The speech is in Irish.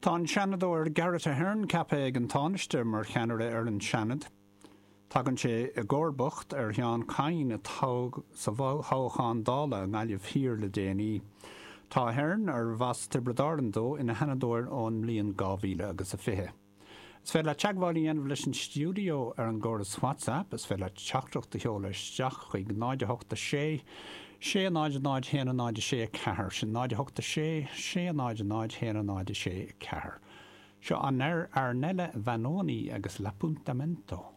Tá an Seanadóir Garret Ahern ceaptha ag an Tánaiste mar cheannaire ar an Seanad. Tagann sé i gcomharbacht ar Sheán Kyne a toghadh sa thoghchán Dála i nGaillimh Thiar le déanaí. Tá Ahern, arbh as Tiobraid Árann dó, ina Sheanadóir ón mbliain 2000 agus a 20. Is féidir leat teagmháil a dhéanamh leis an stiúideo ar an gcóras WhatsApp. Is féidir leat teachtaireacht a sheoladh isteach chuig 0 8 6 6 0 0 1 0 6 4. Sin 0 8 6 6 0 0 1 0 6 4. Seo Arnella Vanoni agus L'Appuntamento.